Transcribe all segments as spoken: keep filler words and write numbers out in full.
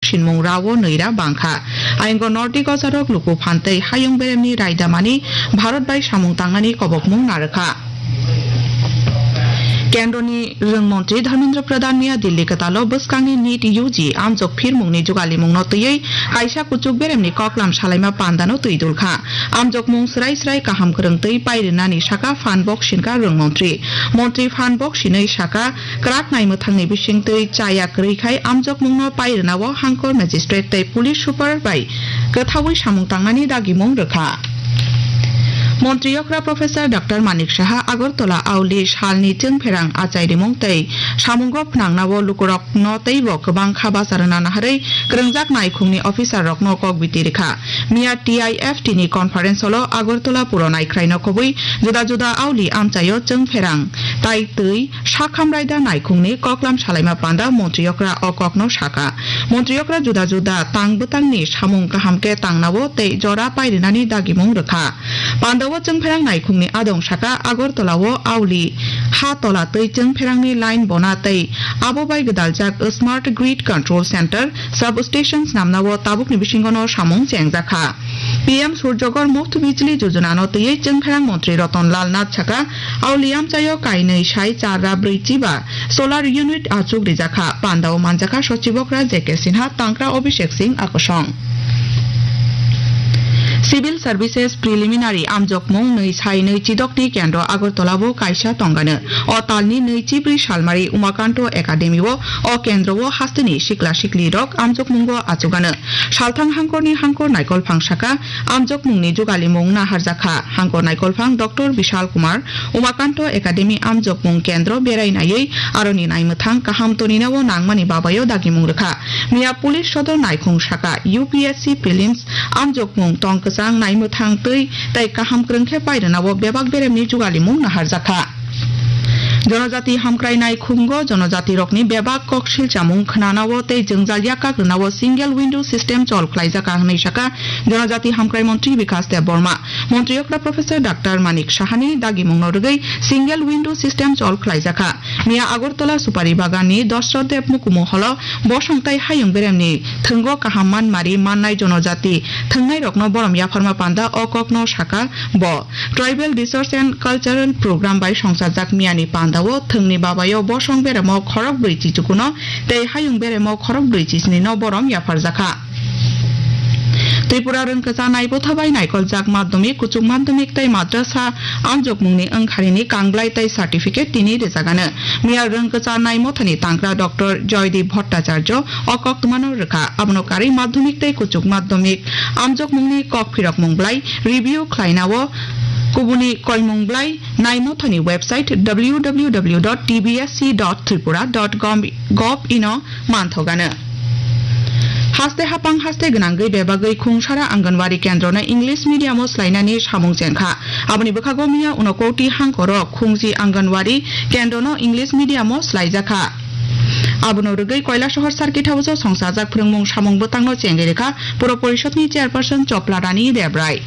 sinmung rao nwi ra bangkha. Ayongo Nordic ojarok luku phan tei hayung beremni raidamani Bharat bai samung tangnani kobokmung narwkha. Kendroni rwng montri Dharmendra Pradhan miya Delhi kwtalo bwskangni NEET U G amjok phirmungni jugalimungno twiwi kaisa kuchuk beremni koklam salaima pandano twi dulkha. Amjokmung swrai swrai kaham kwrwng twi pairwnani saka phan bok sinka rwng montri. Montri phan bok sinwi saka, kwrak naimwthangni bisingtwi chaya kwrwi khai amjokmungno pairwnao hangkor magistrate tei police super bai kwthaui samung tangnani dagimung rwkha. Montri okra Professor Doctor Manik Saha Agartala auli salni chwngpherang achai rimung tei samungo phnangnao lukurokno teibo kwbang kha bacha rwna naharwi kwrwngjak naikhungni officer rokno kok biti rwkha. Miya T I F T ni conference hall o Agartala puro naikhwraino kubui juda juda auli amchaio chwngpherang tai twi sakham raida naikhungni koklam salaima panda montri okra o kokno saka. Montri okra juda juda tang bwtangni samung kaham khe tangnao tei jora pairinani dagimung rwkha. Pandao chwngpherang naikhungni adong saka Agartala o auli ha tola twi chwngpherangni line bona tei abo bai gwdaljak Smart Grid Control Center, substation snamnao tabukni bisingono samung chengjakha. P M Surjagor Muft Bijli Jojona no twiwi chwngpherang montri Ratan Lal Nath saka, auli amchaio kainwi sai char ra brwi chiba solar unit achuk rijakha, pandao manjakha sochibokra J K Sinha, tangkra Abhishek Singh akosong. Civil Services Preliminary amjokmung nwi sai nwi chidokni kendro Agartala bo kaisa tongano. O talni nwi chibrwi salmari Umakanto Academy o, o kendro o hasteni sikla sikli rok amjokmungo achugano. Salthang hangkorni hangkor naikolphang saka, amjokmungni jugalimung naharjakha. Hangkor naikolphang Doctor Bishal Kumar, Umakanto Academy amjokmung kendro berai naiwi aroni naimwthang kaham toninao nangmani babaio dagimung rwkha. Miya Police Sodor naikhung saka, U P S C Prelims amjokmung tong kwchang naimwthang twi tei kaham kwrwng khe pairwnao bebak beremni jugalimung naharjakha. Jonojati hamkrai naikhungo jonojatirokni bebak kok silchamung khwnanao tei jwngjal yakkak rwnao single window system chol khlaijak, hwnwi saka Jonojati Hamkrai Montri Bikas Debbarma. Montri okra Professor Doctor Manik Sahani dagimungno rwgwi single window system chol khlaijakha. Miya Agartala Supari Baganni Dosrot Deb Mukumu Holo bosong tai hayung beremni thwngo kaham manmari mannai jonojati thwngnairokno borom yapharma panda o kokno saka bo. Tribal Resource and Cultural Program bai songchajak miyani pandao thwngni babaio bosong beremo khorok brwi chichukuno tei hayung beremo khorok brwi chisnino borom yapharjakha. Tripura rwngkwchanai bwtha bai naikoljak madhyamik, kuchuk madhyamik tei madrasa amjokmungni wngkharini kanglai tei certificate tini rwjagano. Miya rwngkwchanai mothani tangkra Doctor Joydeep Bhattacharya o koktwmano rwkha. Abono karwi madhyamik tei kuchuk madhyamik amjokmungni kok phirokmung blai review khlainao kubuni koimung blai nai mothani website W W W dot T B S C dot tripura dot gov ino manthogano. Haste hapang haste gwnangwi bebagwi khungsara Anganwadi kendrono English medium o swlainani samung chengkha. Aboni bwkhago miya Unakoti hangkoro khungji Anganwadi kendrono English medium o swlaijakha. Abono rwgwi Koilasohor Circuit House o songchajak phwrwngmung samung bwtangno chengwi rwkha Puro Porishodni Chairperson Chopla Rani Debrai.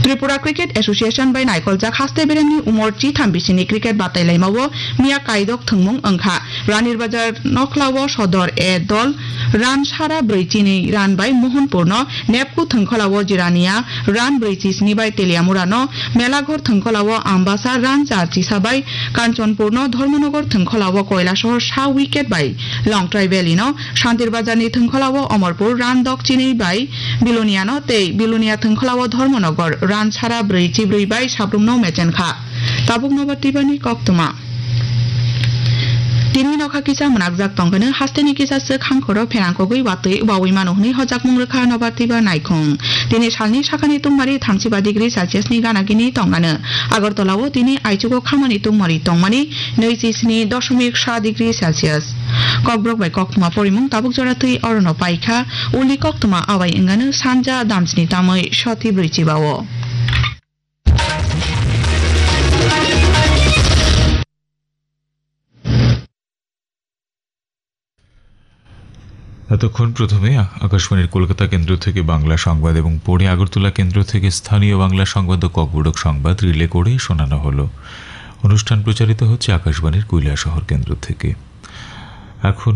Tripura Cricket Association bai naikoljak haste beremni umor chitham bisini cricket batailaimao miya kaidok thwngmung wngkha. Ranirbajar Nokhlao Sodor A dol run sara brwi chinwi run bai Mohanpurno Nepku thwngkholao Jirania run brwi chisni bai Teliamurano Melaghor thwngkholao Ambasa run char chisa bai Kanchanpurno Dharmanagar thwngkholao Koilasohor sa wicket bai Longtrai Valley no Shantirbazar ni thwngkholao Omorpur run dok chinwi bai Biloniano tei Bilonia thwngkholao Dharmanagar run sara brwi chibrwi bai sabrumno mechenkha. Tabuk Nobar Tibani koktwma. Tini nokha kisa mwnakjak tongkhe hasteni kisa swk hangkhoro pherang kogwi watwi wawi mano hwnwi hojakmung rwkha Nobar Tiba naikhung. Tini salni sakani tungmari thamsiba degree Celsius ni gana gini tongano. Agartala o tini aichugo khamani tungmari tongmani nwi chi sni doshomik sa degree Celsius. Kokborok bai koktwma porimung tabuk jora twi orono paikha, uli koktwma abai wngano sanja damsni tamwi soti brwi chiba o. এতক্ষণ প্রথমে আ-, আকাশবাণীর কলকাতা কেন্দ্র থেকে বাংলা সংবাদ এবং পরে আগরতলা কেন্দ্র থেকে স্থানীয় বাংলা সংবাদ ও ককবরক সংবাদ রিলে করে শোনানো হলো। অনুষ্ঠান প্রচারিত হচ্ছে আকাশবাণীর কৈলাসহর কেন্দ্র থেকে। এখন